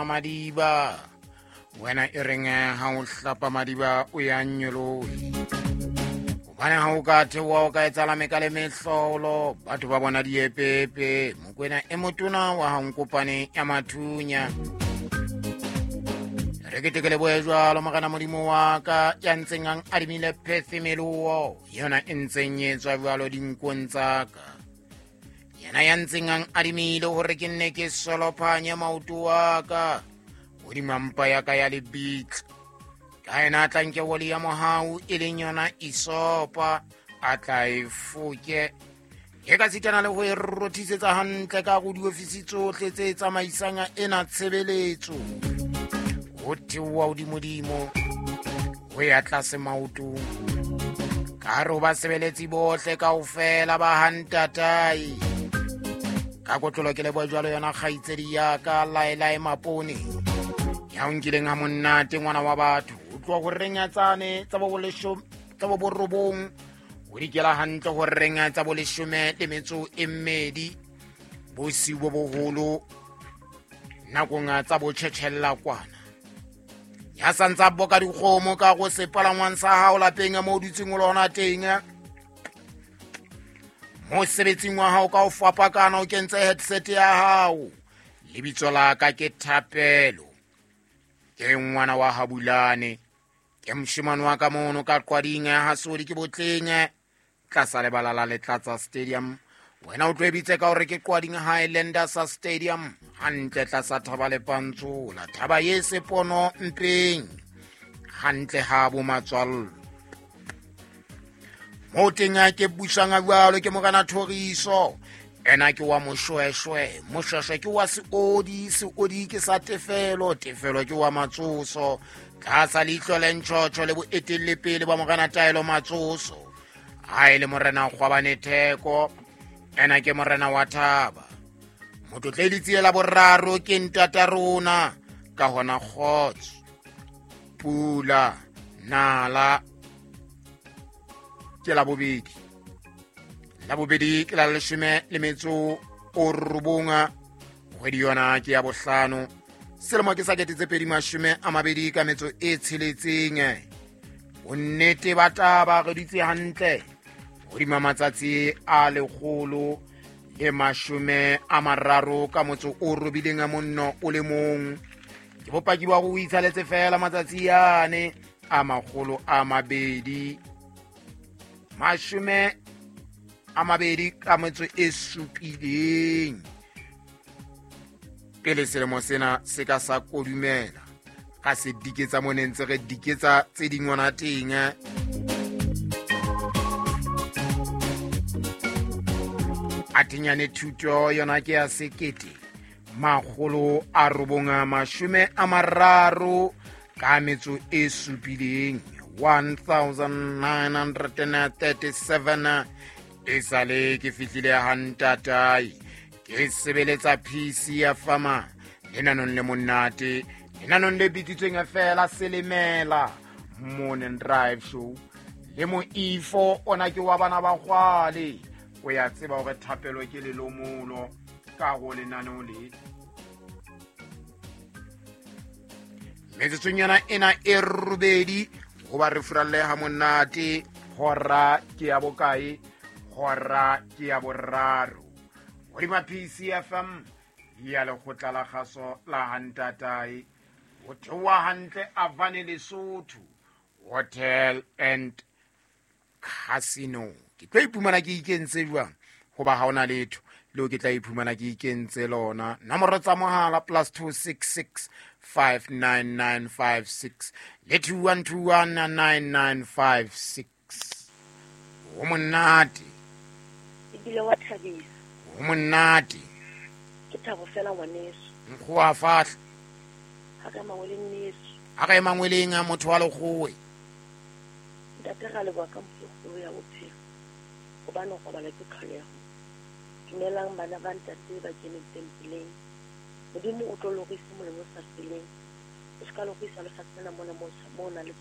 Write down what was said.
Madiba wena e reng ha o hlapa madiba o ya nyolohe hobane ha o ka theoha o ka etsahala meka le mehlolo batho ba bona diepepe Mokwena e motona wa hankopane ya mathunya. Re ke teke lebohe jwalo Morena Modimo wa ka ya ntseng ang adimile phethemeloo yona e ntseng e tswa jwalo dinkong tsa ka, yena ya ntseng ang adimile hore ke nne ke solophanye maoto wa ka hodima mpa ya ka ya lebitla. Ka yena a tla nke oli ya mohau e leng yona isopa a tla e foke e ka sitana le ho e rothisetsa hantle ka go diofisi tsohle tse tsamaisang ena tshebeletso ho theoha hodimodimo ho ya tlase maotong ka hare ho basebeletsi bohle kaofela ba hantatae. Ka kotlolo ke leboha jwalo yona kgaitsedi ya ka Laelae Mapone ya o nkileng ha monnate ngwana wa batho o tloha ho renyatsane tsa bo borobong o dikela hantle ho reng tsa boleshome le metso e mmedi bosiu bo boholo nakong tsa botjhetjhella kwana ya santsa boka dikgomo ka go sepalangwang sa hao lapeng mo o dutseng o lona teng mosebetsing wa hao ka o fapakana o kentse headset ya hao. Lebitso la ka ke Thapelo, ke ngwana wa Habulane, ke moshemane wa ka mono ka Qwading ha Sodi ke Botleng tlasa lebala la Letlatsa Stadium. Wena o tlo e bitse ka hore ke Qwading Highlanders Stadium, hantle tlasa thaba le Pantsola, thaba ye sepono mpeng hantle ha bo matswallo. Mo teng a ke busang a jwalo ke Morena Thoriso, ena ke wa Moshweshwe, Moshweshwe ke wa Seodi, Seodi ke sa Tefelo, Tefelo ke wa Matsoso tlasa leihlo le ntjhotjho le boetellepele ba Morena Taelo Matsoso. Ha e le Morena Kgwabane Theko, ena ke Morena wa Thaba. Motlotle letsie la boraro ke ntata rona, ka hona kgotso, pula, nala ke la bobedi. La bobedi ke la leshome le metso o robong, kgwedi yona ke ya bohlano, selemo ke sa 2026 ka metso e tsheletseng. Bonnete ba taba re dutse hantle hodima matsatsi a 130 ka motso o robileng a monno o le mong. Ke bopaki ba go itshaletse fela matsatsi yane a 227 ka metso e supileng pele selemo sena se ka sa kodumela. Ka se diketsa mo ne ntse re diketsa tse dingwana teng. A tenyane thuto yona ke ya 1937 ka metso e supileng, 1937. E sale ke fihlile hantatae ke sebeletsa PC ya fama lenanong le monate, lenanong le bitsitsweng fela Selemela Morning Drive Show le moifo ona ke wa bana ba kgwale. O ya tseba hore thapelo ke lelomolo ka go lenaneo le. Metsotsong yona ena e robedi hoba re furalle ha monate. Hora ke ya bokae? Hora ke ya boraro. Hodima PCFM ya lekgotla la kgaso la hantatae ho theoha hantle Avane Lesotho Hotel and Casino. Ke tlo iphumana ke ikentse jwang hoba ha ona letho leo ke tla iphumana ke ikentse lona. Nomoro tsa mohala +266 59956 le 21219956. Ho monate ebile wa thabisa. Ho monate. Ke thabo fela ngwaneso. Nkgo a fahla. Ha ka mangweleng neso. Ha ka mangweleng a motho wa lekgowe. Ntate ra leboha ka mokgolo ya bophelo. Hobane go robala ke tlholeho. Dumelang bana ba ntate ba keneng tempeleng. Modimo o tlo lorisa molemo o sa feleng. O ska lorisa lefatshe lena mona mo na le.